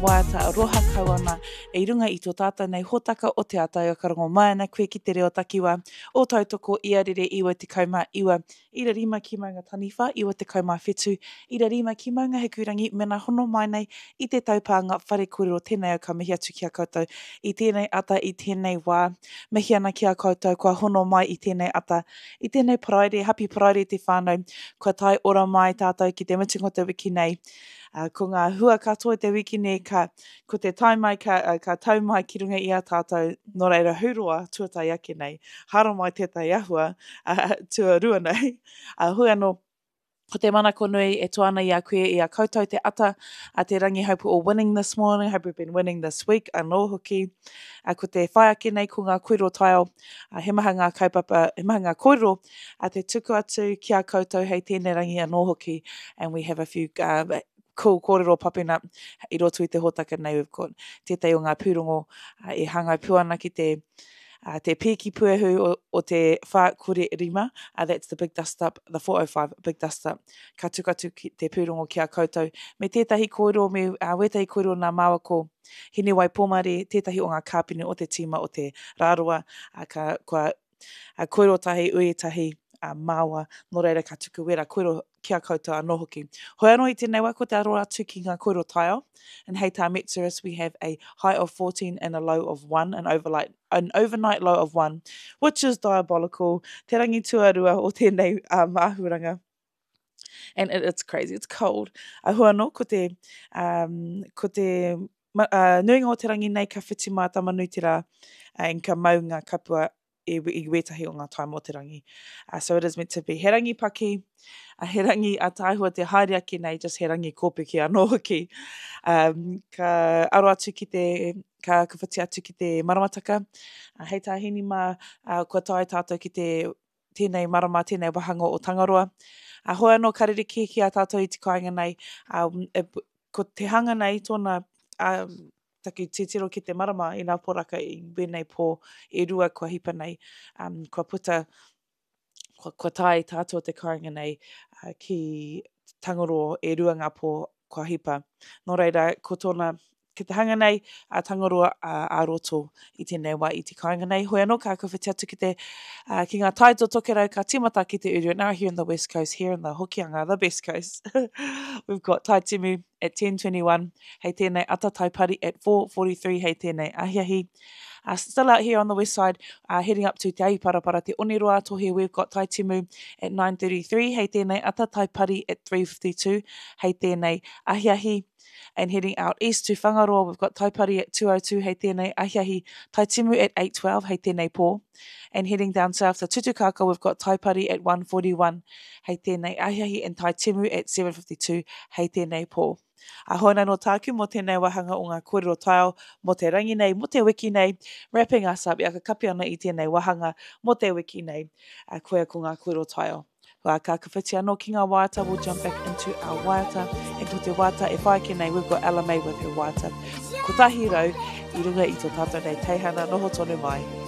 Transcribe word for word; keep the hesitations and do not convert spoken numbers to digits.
Waiata aroha kau ana i runga i tō tātou nei hōtaka o Te Ata ka rongo mai ana koe ki te reo takiwā o Tautoko ia rere iwa tekau mā iwa ira rima ki Maunga Taniwha, iwa tekau mā whetū ira rima ki Maunga Hikurangi mena hono mai nei i te taupānga whare kōrero tēnei au ka mihi atu ki a koutou i tēnei ata i tēnei wā mihi ana ki a koutou kua hono mai i tēnei ata i tēnei Paraire, happy Paraire te whānau kua tae ora mai tātou ki te mutunga o te wiki nei Uh, ko ngā hua katoa te wiki nei, ka, ko te tae mai ka, uh, ka tau mai ki runga i a tātou, nō reira huroa tuatahi ake nei, hara mai tētahi ahua uh, tuarua nei. Uh, hui anō, ko te manako nui e toa ana i a koe i a koutou te ata a te rangi hope we're all winning this morning, hope we've been winning this week anō hoki. Uh, ko te whai ake nei ko ngā kōrero taiao, uh, he maha ngā kaupapa, he maha ngā kōrero a te tuku atu ki a koutou hei tēnei rangi anō hoki. And we have a few uh, cool kōrero popping up i roto i te hōtaka nei we've got tētahi o ngā pūrongo uh, e hāngai pū ana ki te uh, te pīki puehu o, o te whā kore rima, uh, that's the big dust up, the four oh five big dust up, ka tuku atu ki te pūrongo ki a koutou, me tētahi kōrero, me uh, wētahi kōrero nā māua ko Hinewai Pōmare, tētahi o ngā kāpene o te tīma o te Rāroa, uh, ka, kua uh, kōrero tahi, ui tahi, uh, māua, nō reira ka tuku wera kōrero ki a koutou anō hoki. Hoi anō i tēnei wā, ko te aro atu ki ngā kōrero taiao, and hei tā Metserus, we have a high of fourteen and a low of one, an overnight, an overnight low of one, which is diabolical, te rangi tuarua o tēnei, um, āhuaranga. And it, it's crazy, it's cold. A hua anō, ko te, um, ko te ma, uh, nuinga o te rangi nei ka whiti mā Tamanuiterā, uh, and ka mau ngā kapua i, i wētahi o ngā taima o te rangi. Uh, so it is meant to be he rangi paki, uh, he rangi ataahua te haere ake nei, just he rangi kōpeke anō hoki. Um, ka aro atu ki te, ka, ka whiti atu ki te maramataka. Uh, hei tā Hini mā, uh, kua tae tātou ki te tēnei marama, tēnei wahanga o Tangaroa. Uh, hoi anō ka rerekē ki a tātou i te kāinga nei, um, e, ko te hanga nei tōna, um, taku titiro ki te marama i ngā poraka i wēnei pō e rua kua hipa nei, um, kua puta, kua, kua tae tātou te kāinga nei, uh, ki Tangaroa e rua ngā pō kua hipa. Nō reira, ko tōna, ki te hanga nei, a Tangaroa a, a roto i tēnei wā i te kāinga nei. Hoi anō, ka kawhiti atu ki te, uh, ki ngā tai o Tokerau, ka tīmata ki te uru. Now here in the West Coast, here in the Hokianga, the best coast. We've got Tai Timu at ten twenty-one, hei tēnei ata tai pari at four forty-three, hei tēnei ahiahi. Uh, still out here on the west side, uh, heading up to Te Ahiparapara, Te Oneroa Tohe, we've got Tai Timu at nine thirty-three, hei tēnei ata tai pari at three fifty-two, hei tēnei ahiahi. And heading out east to Whangaroa, we've got Taipari at two oh two, hei tēnei ahiahi, Tai Timu at eight twelve, hei tēnei pō. And heading down south to Tutukaka, we've got Taipari at one forty-one, hei tēnei ahiahi, and Tai Timu at seven fifty-two, hei tēnei pō. A hoi anō tāku mō tēnei wāhanga o ngā kōrero taiao mō te rangi nei, mō te wiki nei, wrapping us up, ia ka kapi ana i tēnei wāhanga mō te wiki nei, a koia ko ngā kōrero taiao. Wā, ka kawhiti anō ki ngā waiata, we'll jump back into our waiata. And ko te waiata e whai ake nei, we've got Ella May with her waiata. Kotahi rau i runga i tō tātou nei teihana noho tonu mai.